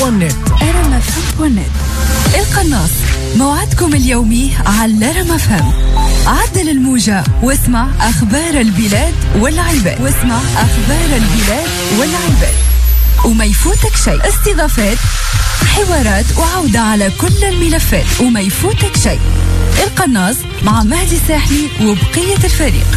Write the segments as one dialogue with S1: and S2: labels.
S1: point net.
S2: rmfm.net. القناص موعدكم اليومي على رمفم. عدل الموجة واسمع أخبار البلاد والعباد، واسمع أخبار البلاد والعباد، وما يفوتك شيء. استضافات، حوارات، وعودة على كل الملفات، وما يفوتك شيء. القناص مع مهدي الساحلي وبقية الفريق.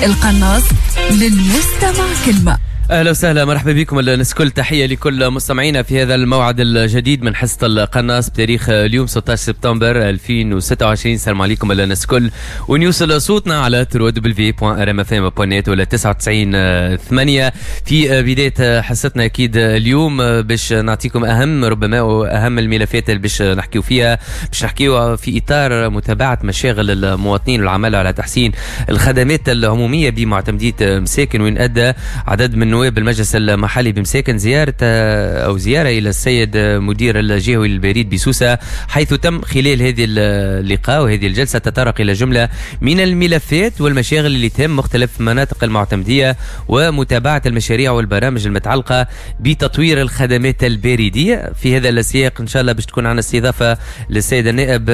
S2: القناص للمستمع كلمة.
S3: اهلا وسهلا، مرحبا بكم الناس الكل، تحية لكل مستمعينا في هذا الموعد الجديد من حصة القناص بتاريخ اليوم 16 سبتمبر 2026. السلام عليكم الناس الكل، ونوصل صوتنا على www.rmfm.net ولا 99.8. في بداية حصتنا اكيد اليوم باش نعطيكم اهم ربما اهم الملفات اللي باش نحكيو فيها، باش نحكيو في اطار متابعه مشاغل المواطنين والعمل على تحسين الخدمات العمومية بمعتمديه مساكن، وين ادى عدد من نواب المجلس المحلي بمساكن زيارة أو زيارة إلى السيد مدير الجهوي للبريد بسوسة، حيث تم خلال هذه اللقاء وهذه الجلسة تطرق إلى جملة من الملفات والمشاغل اللي تهم مختلف مناطق المعتمدية ومتابعة المشاريع والبرامج المتعلقة بتطوير الخدمات البريدية. في هذا السياق إن شاء الله باش تكون عندنا استضافة للسيد النائب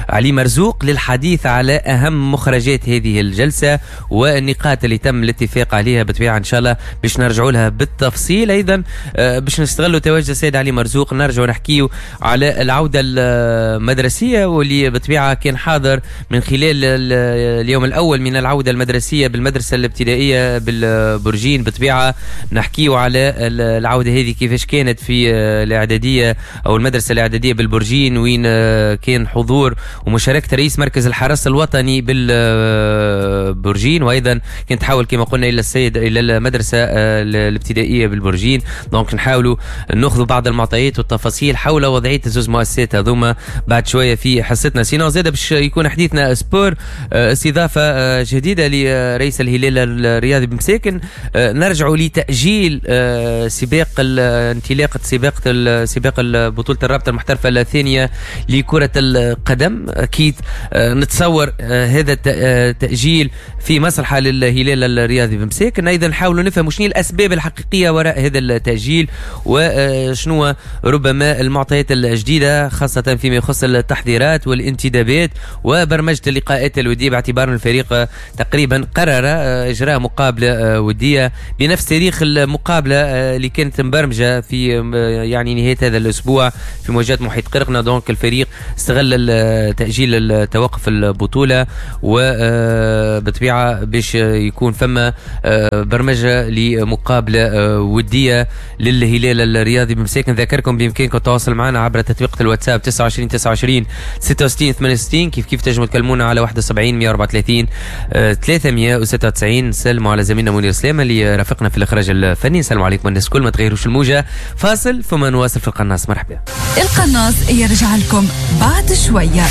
S3: علي مرزوق للحديث على أهم مخرجات هذه الجلسة والنقاط اللي تم الاتفاق عليها، بطبيعة إن شاء الله باش نرجعوا لها بالتفصيل. ايضا باش نستغلوا تواجد السيد علي مرزوق نرجعوا نحكيو على العودة المدرسية، واللي بطبيعة كان حاضر من خلال اليوم الاول من العودة المدرسية بالمدرسة الابتدائية بالبرجين. بطبيعة نحكيو على العودة هذه كيفاش كانت في الاعدادية او المدرسة الاعدادية بالبرجين، وين كان حضور ومشاركة رئيس مركز الحرس الوطني بالبرجين، وايضا كانت تحاول كما قلنا الى السيد الى المدرسة الابتدائية بالبرجين. donc نحاولوا ناخذوا بعض المعطيات والتفاصيل حول وضعية الزوز مؤسسات هذوما بعد شوية في حصتنا. sinon زاد باش يكون حديثنا sport، استضافة جديدة لرئيس الهلال الرياضي بمساكن. نرجعوا لتاجيل سباق انطلاقة سباق بطوله الرابطة المحترفه الثانية لكرة القدم. اكيد نتصور هذا التاجيل في مصلحة للهلال الرياضي بمساكن. ايضا نحاولوا نفهم شنو الاسباب الحقيقية وراء هذا التاجيل وشنو ربما المعطيات الجديدة خاصة فيما يخص التحضيرات والانتدابات وبرمجه اللقاءات الودية، باعتبار الفريق تقريبا قرر اجراء مقابله وديه بنفس تاريخ المقابلة اللي كانت مبرمجه في يعني نهاية هذا الاسبوع في مواجهة محيط قرقنا. donc الفريق استغل تاجيل توقف البطولة وبطبيعة باش يكون فما برمجة لمقابلة وديه للهلال الرياضي بمساكن. ذكركم بامكانكم التواصل معنا عبر تطبيق الواتساب 29 29 66 68، كيف كيف تنجموا تكلمونا على 71 134 396. نسلموا على زميلنا منير سلامه اللي رافقنا في الاخراج الفني. نسلموا عليكم الناس الكل، ما تغيروش الموجه، فاصل ثم نواصل في القناص. مرحبا.
S2: القناص يرجع لكم بعد شوية.